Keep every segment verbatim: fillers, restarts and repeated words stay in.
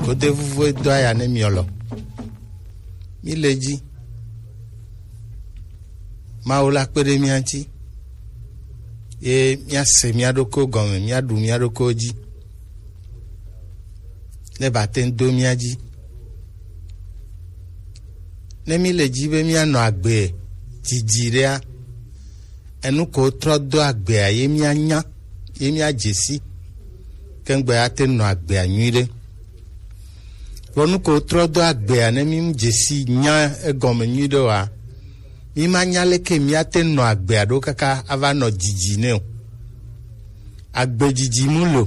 Ode vuvu edo aya ne miolɔ. Mi le ji. Mawu la kpe ɖe mía ŋuti. Ye míase mía ɖokuiwo gɔme, míaɖu mía ɖokuiwo dzi. Ne ba te ŋu do mía dzi. Ne mi le ji be míanɔ agbe didi ɖea, enu ko trɔ do agbea ye míanya, ye míadze si. Kengbe ate nɔ agbea nyuiɖe. Vɔ nu ko trɔ do agbea ne mi mu dze si nya egɔme nyuiɖe oa, mi ma nya leke míate nɔ agbea ɖo kaka ava nɔ didi nɛ o. Agbe didi mu lo.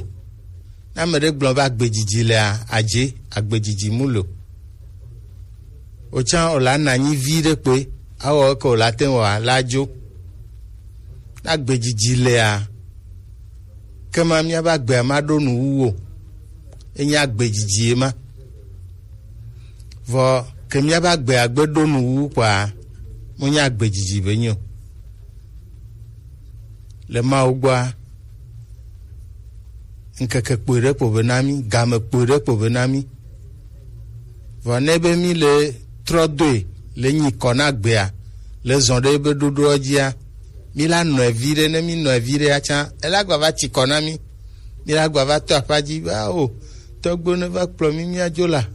Ne ame ɖe gblɔ be agbe didi lea, adze agbe didi mu lo. Otsã o la na anyi vi ɖe kpe, awɔ eke o la te ŋu wa la dzo. Ne agbe didi lea, ke ma míabe agbea ma ɖo nu wu o. Enye agbe didi ye ma. Vɔ ke míabe agbea gbe ɖo nu wu kpɔa, mo nya agbe didi be nyo. Le Mawu gbɔa, ŋkeke kpui ɖe kpo be na mí, game kpui ɖe kpo be na mí. Vɔ ne be mí le trɔ doe le nyi kɔ na gbea, le zɔn ɖe be ɖoɖoa dzia, mí la nɔe vi ɖe, ne mí nɔe vi ɖe atsã, ela gba va tsi kɔ na mí. Mí la gba va tɔ aƒa dzi be, ao, tɔgbo ne va kplɔ mí míadzo la.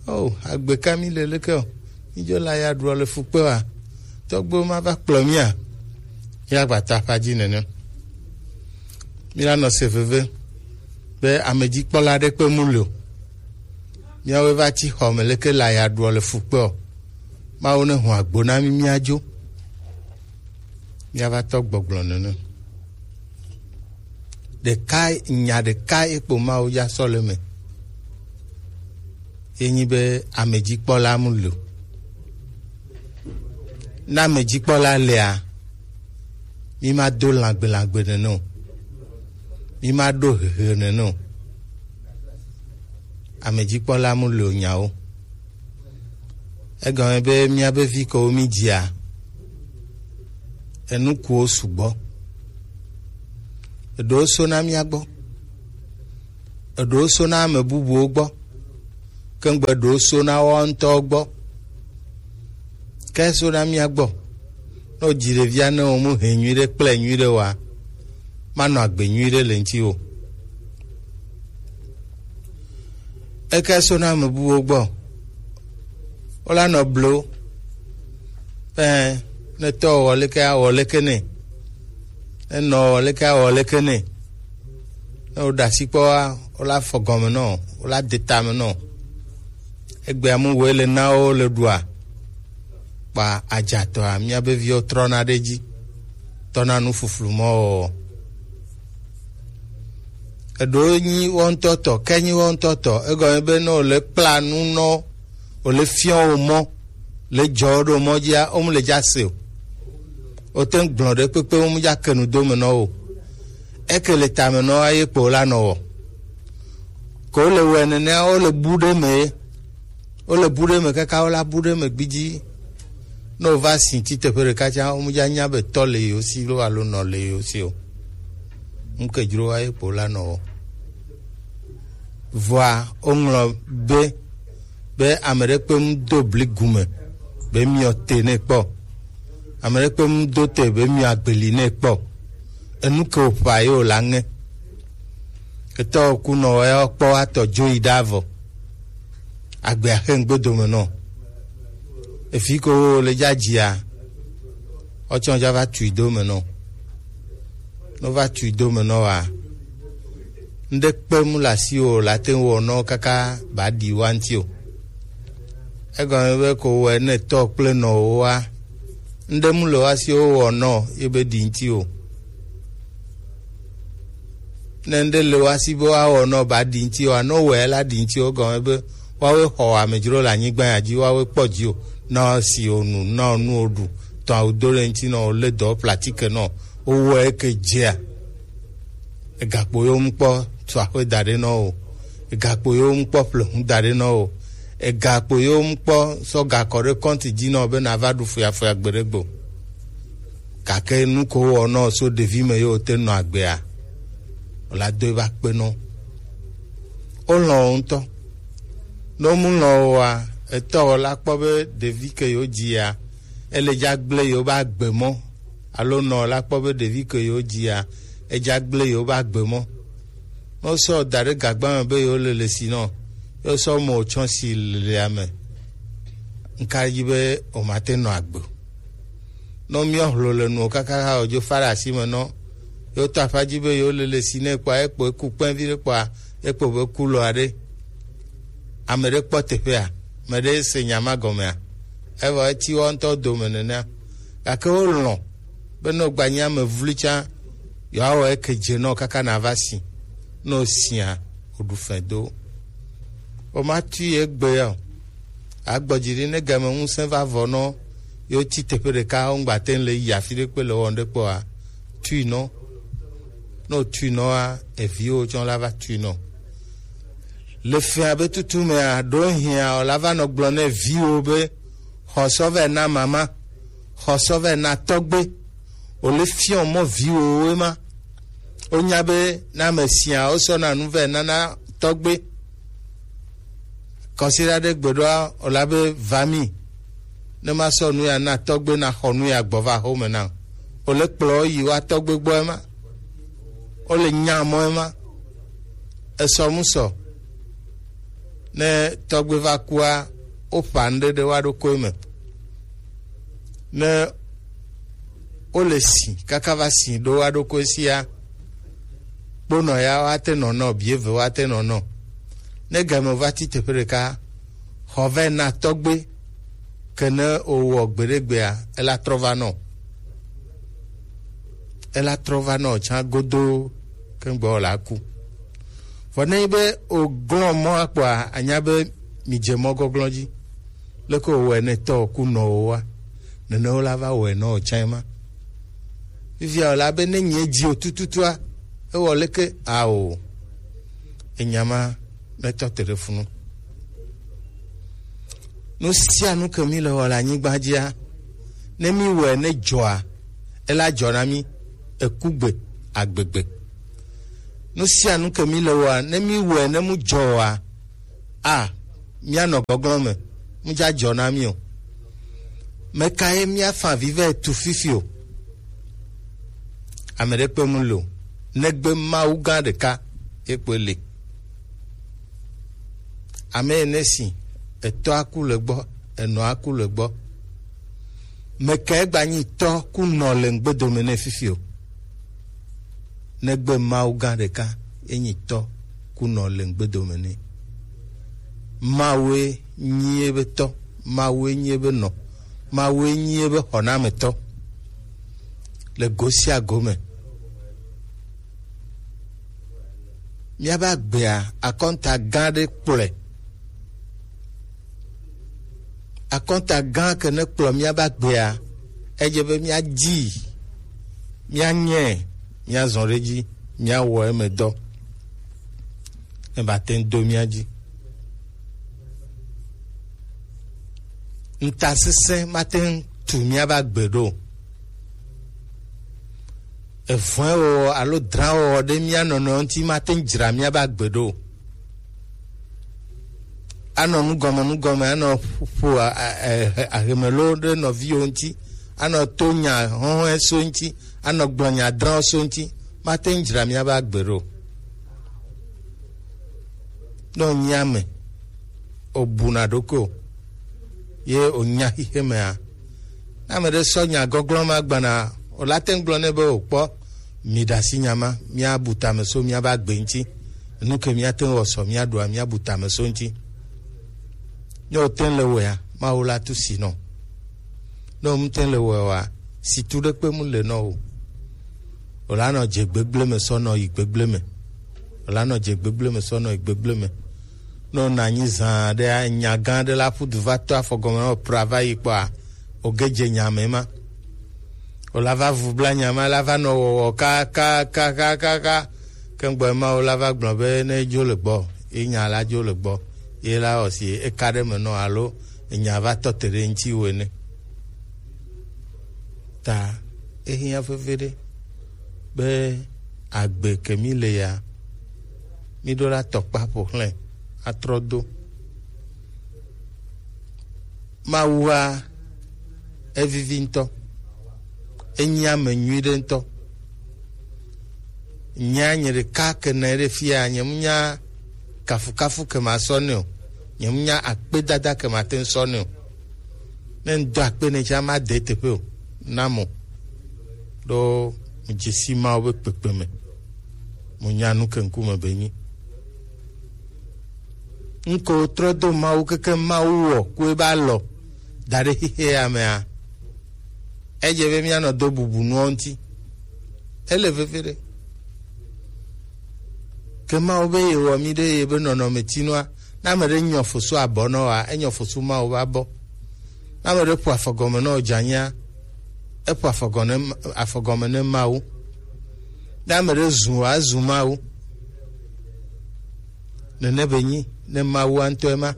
Ao, agbe ka mí le leke o. Mídzo la ya ɖuɔ le fukpe wa. Tɔgbo ma va kplɔ mía. Míagba ta aƒa dzi nene. Míla nɔ se veve be amedzikpɔla ɖe kpe mu le o. Míawoe va tsi xɔ me leke la ya ɖuɔ le fukpe o. Mawu ne hɔn agbo na mí míadzo. Míava tɔ gbɔgblɔ nene. Ɖeka, nya ɖeka ekpo Mawu ya sɔ le me. Ye nyi be amedzikpɔla mu le o. Ne amedzikpɔla lea, mi ma do lãgbe lãgbe nene o. Mi ma ɖo hehe nene o. Amedzikpɔla mu le o nyawo. Egɔme be míabe vi kewo mi dzia, enu kuwo sugbɔ. Eɖewo sona mía gbɔ. Eɖewo sona ame bubuwo gbɔ. Kengbe ɖewo sona woawo ŋutɔwo gbɔ. Ke sona mía gbɔ. Ne wodzi ɖevia ne wo mu hɛ nyuiɖe kple nyuiɖe wa, manɔ agbe nyuiɖe le ŋuti o. Eke sona ame bubuwo gbɔ. Wola nɔ blo. Ɛ, ne tɔ wɔ leke awɔ leke nɛ. Ne nɔ wɔ leke awɔ leke nɛ. Ne woɖe asi kpɔ wa, wola fɔ gɔme nɔ, wola de tame nɔ. Egbea mu woe le na wo le ɖua. Kpa adzatɔa, míabe viwo trɔna ɖe edzi, tɔna nu fuflu mɔ wɔwɔ. Eɖewo nyi wo ŋutɔ tɔ, ke nyi wo ŋutɔ tɔ, egɔme be ne wòle kpla nu nɔ, wòle fiɔ wo mɔ, le dzɔ wo ɖo mɔ dzia, wo mu le dza se o. Wote ŋu gblɔ ɖe kpekpe, wo mu dza ke nu do me nɔ wo. Eke le tame nɔ wa ye kpo la nɔ wɔ. Ko le wɔe nenea, wo le bu ɖe me ye. Wole bu ɖe me kaka wola bu ɖe me gbidzi. Ne wova si tsi teƒe ɖeka tsã, womedza nya be tɔ le yewo si loo alo nɔ le yewo si o. Ŋkedzrowa ye kpo la nɔ wɔ. Vɔa woŋlɔ be, be ame ɖe kpe ŋu do bli gume be miɔ te nɛ kpɔ. Ame ɖe kpe ŋu do te be miɔ agbeli nɛ kpɔ. Enu ke wòƒã ye wòla ŋe. Etɔ kunɔ ya kpɔ atɔ dzo yi ɖa vɔ. Agbea xe ŋgbe dome nɔ. Efi ko wo le dza dzia, ɔtsɔ dza va tui do me nɔ. No va tui do me nɔ wa. Ŋɖe kpe mu le asi o, la te ŋu wɔ nɔ kaka ba ɖi wa ŋuti o. Egɔme be ko wɔ ne tɔ kple nɔ wo wa. Ŋɖe mu le wa si wo wɔ nɔ ye be ɖi ŋuti o. Ne ŋɖe le wa si be woawɔ nɔ ba ɖi ŋuti oa, ne wowɔe la ɖi ŋuti o, gɔme be woawoe xɔ amedzro le anyigba ya dzi, woawoe kpɔ dzi o, na si o nu, na o nu o ɖu, tɔ awu do ɖe ŋuti nɔ, o le dɔ platike nɔ, wowɔe ke dzea. Egakpo yewo mu kpɔ tu aƒe da ɖe nɔ o, egakpo yewo mu kpɔ ƒle hu da ɖe nɔ o, egakpo yewo mu kpɔ sɔ gakɔ ɖe kɔnti dzi nɔ be na va ɖu fuyafuya gbe ɖe gbe o. Gake nu ko wowɔ nɔ so ɖevi me yewo te nɔ agbea, o la do eva kpe nɔ. Wolɔ̃ wo ŋutɔ. Ne mu lɔ oa, etɔ la kpɔ be ɖevi ke yewo dzia, ele dza gblẽ yewo be agbe mɔ. Alo nɔ la kpɔ be ɖevi ke yewo dzia, edza gblẽ yewo be agbe mɔ. Ne wosɔ da ɖe gagba me be yewo lele si nɔ, ye wosɔ mɔ tsɔ si lelea me. Nka dzi be womate nɔ agbe o. Nɔ miɔ hlo le nuwo kaka ha wòdzo fa ɖe asi me nɔ. Yewo to aƒa dzi be yewo lele si ne kpɔa, ekpo eku kpɛvi ɖe kpɔa, ekpo be ku lɔ aɖe. Ame ɖe kpɔ teƒea, ame ɖe se nya ma gɔmea, evɔ eti wo ŋutɔ dome nenea. Gake wolɔ̃ be ne wògba nyi ame vloe tsã, yewoawɔ eke dze nɔ kaka nava si. Ne wòsia, wòɖu fɛ do. Womatui egbe ya o. Agbɔ dzi ɖi ne game ŋusẽ va vɔ nɔ yewo ti teƒe ɖeka, wongba te ŋu le yi afi ɖe kpe le wɔm ɖe kpɔa, tui nɔ. Ne wòtui nɔa, eviwo tsɔ la va tui nɔ. Le fia be tutu mea, ɖo hiã o la va nɔ gblɔ ne viwo be, xɔ sɔ vɛ na mama, xɔ sɔ vɛ na tɔgbe. O le fiɔ mɔ viwo woe ma. Wonya be na ame sia wosɔ na nu vɛ nana tɔgbe. Kɔsiɖa ɖe gbeɖoa, o la be va mi. Ne ma sɔ nu ya na tɔgbe na xɔ nu ya gbɔ va xɔme na. O le kplɔ yi wa tɔgbe gbɔ ema. O le nya mɔ ema. Esɔ mu sɔ. Ne tɔgbe va kua, o ƒa nu ɖe ɖe wa ɖo koe me. Ne o le si, kaka va si ɖo wa ɖo koe sia. Kponɔ ya wa te nɔ nɔ, bieve wa te nɔ nɔ. Ne game va ti teƒe ɖeka, xɔ vɛ na tɔgbe, ke ne o wɔ gbeɖegbea, ela trɔ va nɔ. Ela trɔ va nɔ tsã godo, ke ŋgbɔ la ku. Vɔ ne nyi be o glɔ mɔ akpɔa, anya be mi dze mɔ gɔglɔ dzi. Leke o wɔ ne tɔ ku nɔ o wa, nene o la va wɔ nɔ o tsã ma. Fifia o la be ne nye dzi o tututua, ewɔ leke ao. Enya ma mɛtɔ te ɖe funu. Nu sia nu ke mi le wɔ le anyigba dzia, ne mi wɔe ne dzɔa, ela dzɔ na mi, ekugbe, agbegbe. Nu sia nu ke mi le wɔa, ne mi wɔe ne mu dzɔ oa, a, mianɔ gɔglɔ me, mu dza dzɔ na mi o. Meka ye miafa avi vɛ tu fifi o? Ame ɖe kpe mu lo, negbe Mawu gã ɖeka ye kpe le. Ame ene si, etɔ aku le gbɔ, enɔ aku le gbɔ. Meka ye gba nyi tɔ ku nɔ le ŋgbedome ne fifi o? Negbe Mawu gã ɖeka ye nyi tɔ ku nɔ le ŋgbedome ne. Mawue nyi ebe tɔ, Mawue nyi ebe nɔ, Mawue nyi ebe xɔnametɔ le go sia go me. Míabe agbea, akɔnta gã ɖe kplɔe. Akɔnta gã ke ne kplɔ míabe agbea, edze be míadi, míanyae, míazɔ ɖe edzi, míawɔ eme dɔ. Ebate ŋu do mía dzi. Ŋutasesẽ mate ŋu tu míabe agbe ɖo. Evɔ̃ewɔwɔ alo drãwɔwɔ ɖe mía nɔnɔewo ŋuti mate ŋu dzra míabe agbe ɖo. Anɔ nugɔme nugɔme, anɔ ƒo a- a- a- ahemelo ɖe nɔviwo ŋuti, anɔ to nya hɔhɔe so ŋuti, anɔ gblɔ nya drãwo so ŋuti, mate ŋu dzra míabe agbe ɖo. Ne wònye ame, wòbuna ɖokuiwò, ye wònya xixemea, ne ame ɖe sɔ nya gɔglɔ̃ ma gbana, wòla te ŋu gblɔ nɛ be, wòkpɔ, mi ɖe asi nya ma, míabu tame so míabe agbe ŋuti. Nu ke míate ŋu wɔ sɔ míaɖua, míabu tame so ŋuti. Ne wòte ŋu le wɔea, Mawu la tu si nɔ. Ne wòmete ŋu le wɔea, situ ɖekpe mu le nɔ o. Wòla nɔ dze gbegblẽ me sɔ nɔ yi gbegblẽ me. Wòla nɔ dze gbegblẽ me sɔ nɔ yi gbegblẽ me. Ne wònɔ anyi zã ɖe, nya gã aɖe la ƒu du va to afɔ gɔme na wò pra va yi kpɔa, wòge dze nya me ma. Wòla va vu bla nya ma, la va nɔ wɔwɔ kakakaka. Ke ŋgbɔ ma wòla va gblɔ be ne dzo le gbɔ, ye nya la dzo le gbɔ, ye la wɔ si eka ɖe me nɔ alo enya va tɔ te ɖe ŋuti wò ene. Ta ehiã veviɖe be agbe ke mi le ya, mi ɖo la tɔkpa ƒo xlẽ atrɔ do. Mawua evivi ŋutɔ, enyi ame nyui ɖe ŋutɔ. Nya nye ɖeka ke nɔ ɖe fia, nye mu nya kafukafu ke ma sɔ nɛ o, nye mu nya akpedada ke ma te ŋu sɔ nɛ o. Ne ŋdɔ akpe ne tsa ma de teƒe o, na mo ɖo. Mu dzesi Mawu be kpekpe me, mu nya nu ke ŋkume be nyi. Ŋko trɔ do Mawu keke Mawu wɔ ku ebe alɔ da ɖe xixe ya mea, edze be míanɔ do bubu nuwo ŋuti. Ele veve ɖe. Ke Mawu be yewɔ mí ɖe yebe nɔnɔmetinua, ne ame ɖe nyɔ fosu abɔ nɔ wa, enyɔ fosu Mawu be abɔ. Ne ame ɖe ƒo afɔgɔme nɔ dzanyea, eƒo afɔgɔme afɔgɔme ne Mawu. Ne ame ɖe zu wa, ezu Mawu. Nene be nyi ne Mawu ŋutɔe ma.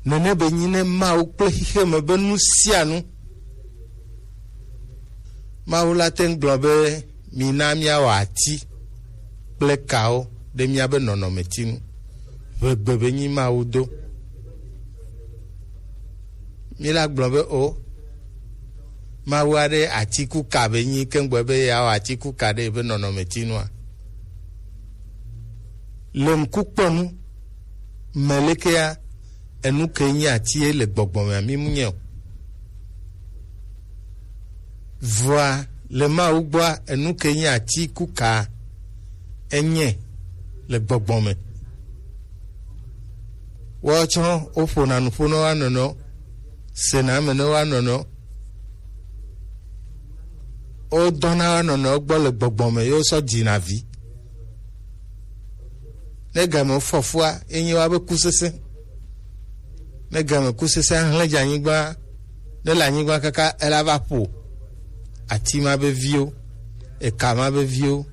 Nene be nyi ne Mawu kple xixe me be nu sia nu. Mawu la te ŋu gblɔ be, mina míawɔ ati kple kawo ɖe míabe nɔnɔmeti ŋu. Ʋegbe be nyi Mawu do. Míla gblɔ be o, Mawu aɖe ati ku ka be nyi keŋgbɔ be yeawɔ ati ku ka ɖe ebe nɔnɔmeti nua. Le ŋkukpɔnu me lekea, enu ke nyi ati ye le gbɔgbɔ mea, mi mu nye o. Vɔa le Mawu gbɔa, enu ke nyi ati ku ka enye le gbɔgbɔ me. Woawo tsɔ woƒona nuƒo ne woa nɔnɔewo, sena eme ne woa nɔnɔewo. Wodɔna woa nɔnɔewo gbɔ le gbɔgbɔ me ye wosɔ dzina vi. Ne game fɔfua, enye woabe kusesẽ. Ne game kusesẽ ahlẽ dze anyigba, ne le anyigba kaka ela va ƒo ati ma be viwo, eka ma be viwo,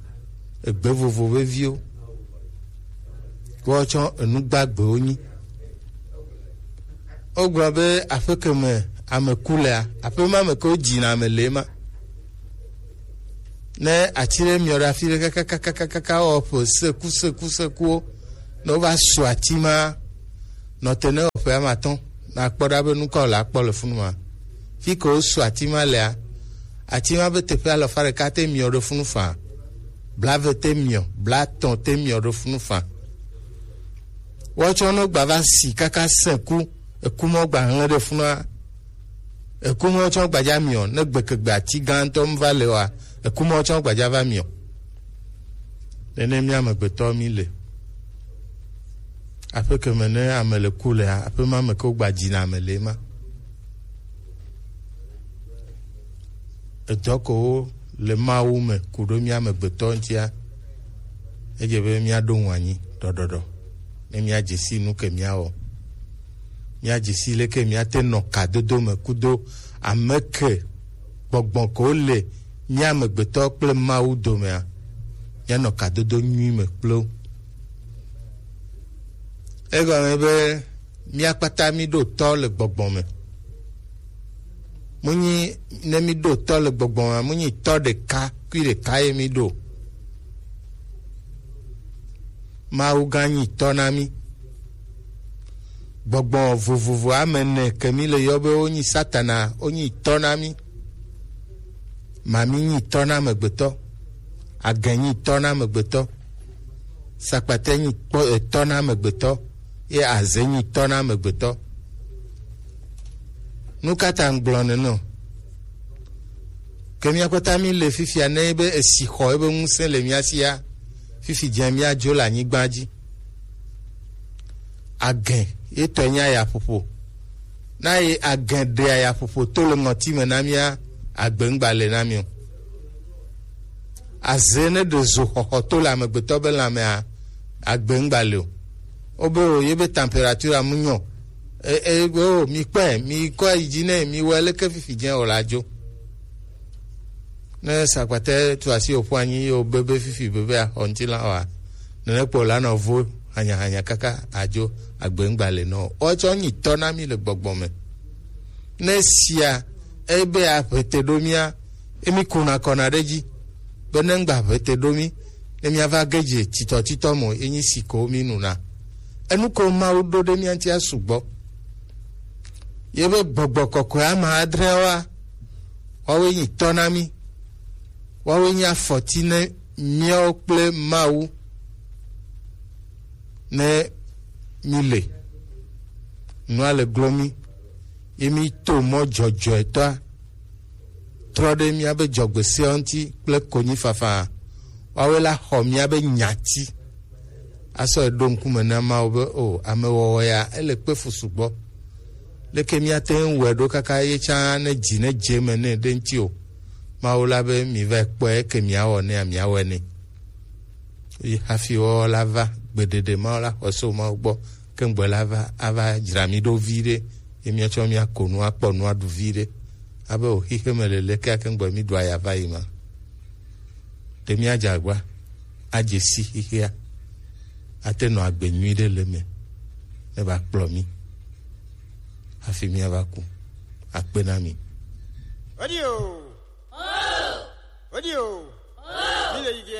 egbe vovo be viwo. Woawo tsɔ enu gbagbewo nyi. Wogblɔ be aƒe ke me ame ku lea, aƒe ma me ke wodzina ame le ema. Ne ati ɖe miɔ ɖe afi ɖe kakakakaka wɔ ƒe seku seku sekuwo, ne wova su ati ma, nɔte ne wɔ ƒe ama atɔ̃, nakpɔ ɖa be nu ka wòle akpɔ le funu ma. Fi ke wosu ati ma lea, ati ma be teƒe alafa ɖeka te miɔ ɖe funu faa, blave te miɔ, blatɔ̃ te miɔ ɖe funu faa. Woatsɔ ne wogba va si kaka sẽku, eku ma wogba hlẽ ɖe funua, eku ma woatsɔ gbadza miɔ, ne gbekegbe ati gãtɔ mu va le oa, eku ma woatsɔ gbadza va miɔ. Nene mía amegbetɔ mi le. Aƒe ke me ne ame le ku lea, aƒe ma me ke wogba dzina ame le ema. Edɔ kewo le Mawu me ku ɖo mía amegbetɔ ŋutia, edze be míaɖo ŋu anyi ɖɔɖɔɖɔ, ne míadze si nu ke míawɔ. Míadze si leke míate nɔ kadodo me kudo ame ke gbɔgbɔ kewo le mía amegbetɔ kple Mawu domea, míanɔ kadodo nyui me kple wo. Egɔme be mía kpata míɖo tɔ le gbɔgbɔ me. Munyi ne míɖo tɔ le gbɔgbɔ me, munyi tɔ ɖeka kui ɖeka ye míɖo. Mawu gã nyi tɔ na mí. Gbɔgbɔ vovovo ame ene ke mí le yɔ be wonyi Satana, wonyi tɔ na mí. Mami nyi tɔ na amegbetɔ, agɛ nyi tɔ na amegbetɔ, sakpatɛ nyi kpɔ etɔ na amegbetɔ, ye azɛ nyi tɔ na amegbetɔ. Nu ka ta ŋgblɔ nene o? Ke mía kpata mí le fifia ne be esi xɔ ebe ŋusẽ le mía sia, fifi dze mía dzo le anyigba dzi. Agɛ ye tɔ nya ya ƒoƒo. Na ye agɛ ɖea ya ƒoƒo to le ŋɔti me na mía, agbe ŋgba le na mí o. Aze ne ɖe zo xɔxɔ to le amegbetɔ be lãmea, agbe ŋgba le o. Wobe o ye be temperature amu nyɔ. E e o mi kpɛ mi kɔ yi dzi ne mi wɔ leke fifi dze o la dzo. Ne sakpatɛ tu asi o ƒu anyi yo bebe fifi bebe a xɔ ŋuti la wa. Nene kpɔ la nɔ vo hanya hanya kaka adzo agbe ŋgba le nɔ. Wotsɔ nyi tɔ na mi le gbɔgbɔ me. Ne sia ebe aƒete ɖo mía, emi kuna kɔna ɖe dzi be ne ŋgba ʋete ɖo mí, ne míava ge dze titɔtitɔ mo, enyi si ko mí nuna. Enu ko Mawu ɖo ɖe mía ŋutia sugbɔ. Ye be gbɔgbɔ kɔkɔe ame adre wa, woawoe nyi tɔ na mí, woawoe nyi afɔti ne míawo kple Mawu ne mí le. Nua le glo mí, ye mí to mɔ dzɔdzɔetɔa trɔ ɖe míabe dzɔgbesea ŋuti kple konyifafa. Woawoe la xɔ míabe nyati asɔ eɖo ŋkume na Mawu be, o, amewɔwɔ ya, ele kpe fu sugbɔ. Leke míate ŋu wɔe ɖo kaka ye tsã ne dzi ne dze eme nɛ ɖe ŋuti o? Mawu la be, mi va kpɔe, eke miawɔ nɛa, miawɔe nɛ. Eye hafi woawo la va gbeɖeɖe, Mawu la xɔe so Mawu gbɔ, ke ŋgbɔ la va ava dzra mí ɖo viɖe, ye míatsɔ míako nu akpɔ nu aɖu viɖe. Abe o xixe me le leke ake ŋgbɔ mí ɖu aya va yi ma. Ɖe míadze agba, adze si xixea, ate nɔ agbe nyui ɖe le me, ne va kplɔ mí hafi míava ku. Akpe na mi. Radio. Radio. Mi le yi ge.